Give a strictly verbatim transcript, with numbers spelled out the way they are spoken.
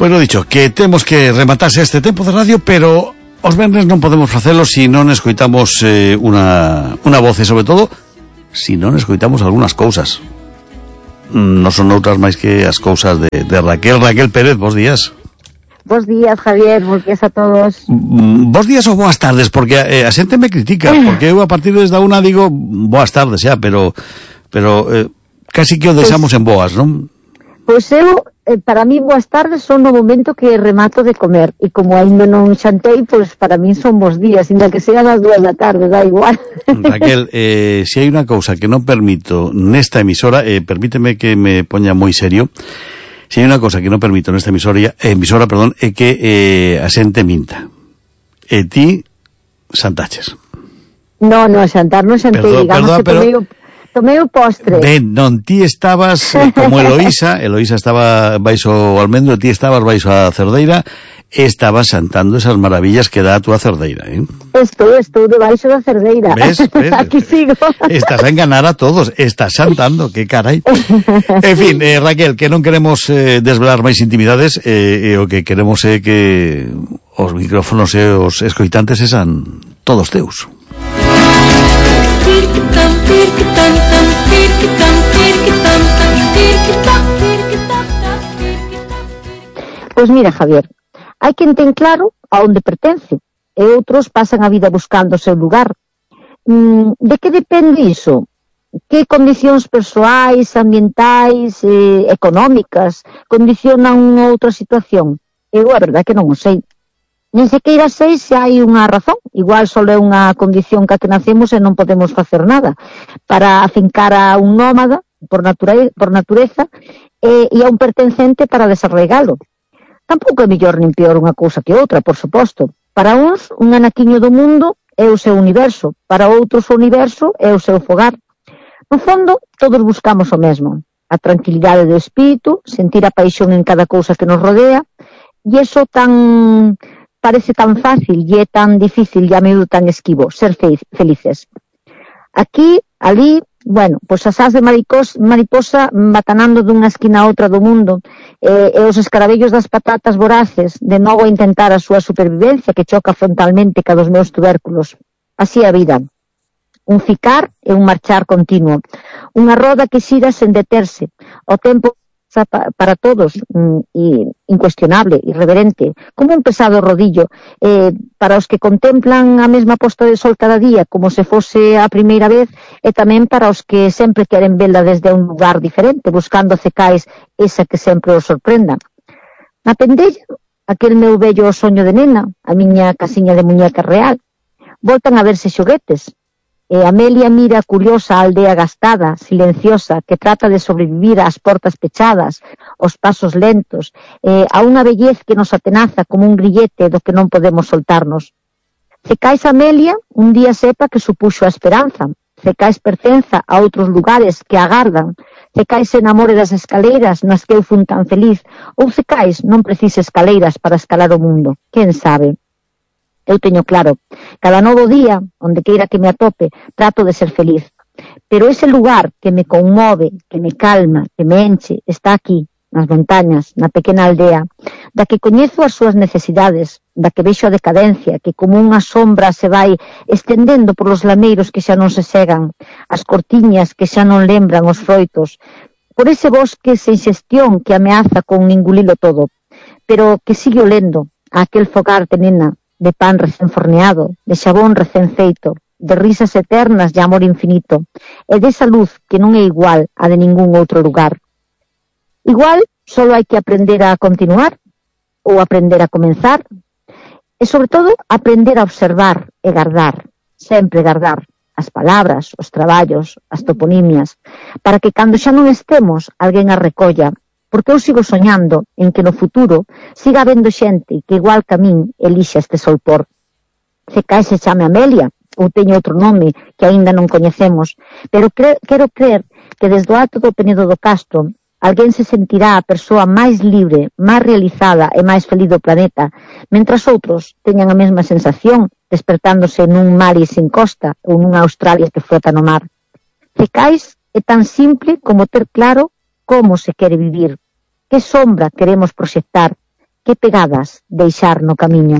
Pois lo dicho, que temos que rematarse este tempo de radio, pero os venres non podemos facelo se non escoitamos eh, unha, unha voz e, sobre todo, se non escoitamos algunhas cousas. Non son outras máis que as cousas de, de Raquel. Raquel Pérez, bos días. Bos días, Javier, bos días a todos. Bos días ou boas tardes, porque eh, a xente me critica, porque eu a partir desde unha digo boas tardes xa, pero pero eh, casi que o deixamos pues, en boas, non? Pois eu, eh, para mí boas tardes son no momento que remato de comer, e como ainda non xantei, pois para mí son bos días, ainda que sean as dúas da tarde, da igual. Raquel, eh, se hai unha cousa que non permito nesta emisora, eh, permíteme que me poña moi serio. Si hai unha cosa que non permito nesta emisora, emisora perdón, é que eh, a xente minta. E ti xantaches. No, no, xantar non xantei, perdón, digamos perdón, que pero... tomei, o, tomei o postre. Ben, non, ti estabas eh, como Eloísa, Eloísa estaba baixo o almendro, ti estabas baixo a cerdeira, e estabas xantando esas maravillas que dá a túa cerdeira, eh? Estou, estou debaixo da cerdeira. Ves, ves? Aquí sigo. Estás a enganar a todos, estás xantando, que carai. En fin, eh, Raquel, que non queremos eh, desvelar máis intimidades, eh, e o que queremos é que os micrófonos e os escoitantes esan todos teus. Pois mira, Javier, hai quen ten claro a onde pertence, e outros pasan a vida buscando o seu lugar. Mm, de que depende iso? Que condicións persoais, ambientais, eh, económicas condicionan unha outra situación? Eu a verdade que non o sei. Nen sequeira sei se hai unha razón, igual só é unha condición que a que nacemos e non podemos facer nada. Para afincar a un nómada, por, nature, por natureza, e, e a un pertencente para desarraigalo. Tampouco é mellor nin peor unha cousa que outra, por suposto. Para uns, un anaquiño do mundo é o seu universo, para outros o universo é o seu fogar. No fondo, todos buscamos o mesmo, a tranquilidade do espírito, sentir a paixón en cada cousa que nos rodea, e iso tan parece tan fácil e é tan difícil e a menudo tan esquivo, ser felices. Aquí, ali, bueno, pois as ás de maricos, mariposa batanando dunha esquina a outra do mundo, e, e os escarabellos das patatas voraces, de novo a intentar a súa supervivencia que choca frontalmente ca dos meus tubérculos. Así a vida. Un ficar e un marchar continuo. Unha roda que xira sen deterse. O tempo para todos, e incuestionable, irreverente, como un pesado rodillo, eh, para os que contemplan a mesma posta de sol cada día como se fose a primeira vez, e tamén para os que sempre queren vela desde un lugar diferente, buscando cecais esa que sempre os sorprenda. Na pendella, aquel meu bello soño de nena, a miña casiña de muñeca real, voltan a verse xoguetes. E Amelia mira curiosa a aldea gastada, silenciosa, que trata de sobrevivir ás portas pechadas, os pasos lentos, eh, a unha bellez que nos atenaza como un grillete do que non podemos soltarnos. Cecais Amelia un día sepa que supuxo a esperanza, Cecais pertenza a outros lugares que agardan, Cecais se enamore das escaleiras nas que eu fun tan feliz, ou Cecais non precise escaleiras para escalar o mundo, quen sabe? Eu teño claro, cada novo día, onde queira que me atope, trato de ser feliz. Pero ese lugar que me conmove, que me calma, que me enche, está aquí, nas montañas, na pequena aldea, da que coñezo as súas necesidades, da que vexo a decadencia, que como unha sombra se vai estendendo por os lameiros que xa non se segan, as cortiñas que xa non lembran os froitos, por ese bosque sen xestión que ameaza con engulilo todo, pero que sigue olendo a aquel fogar de nena, de pan recén forneado, de xabón recén feito, de risas eternas de amor infinito, e desa luz que non é igual a de ningún outro lugar. Igual, só hai que aprender a continuar, ou aprender a comenzar, e sobre todo, aprender a observar e guardar, sempre guardar, as palabras, os traballos, as toponimias, para que cando xa non estemos, alguén as recolla, porque eu sigo soñando en que no futuro siga habendo xente que igual que a min elixa este solpor. Cecais se chame Amelia, ou teño outro nome que aínda non coñecemos, pero cre quero creer que desde o alto do Penedo do Castro alguén se sentirá a persoa máis libre, máis realizada e máis feliz do planeta, mentras outros teñan a mesma sensación despertándose nun mar e sin costa ou nunha Australia que flota no mar. Cecais é tan simple como ter claro como se quere vivir, que sombra queremos proxectar, que pegadas deixar no camiño.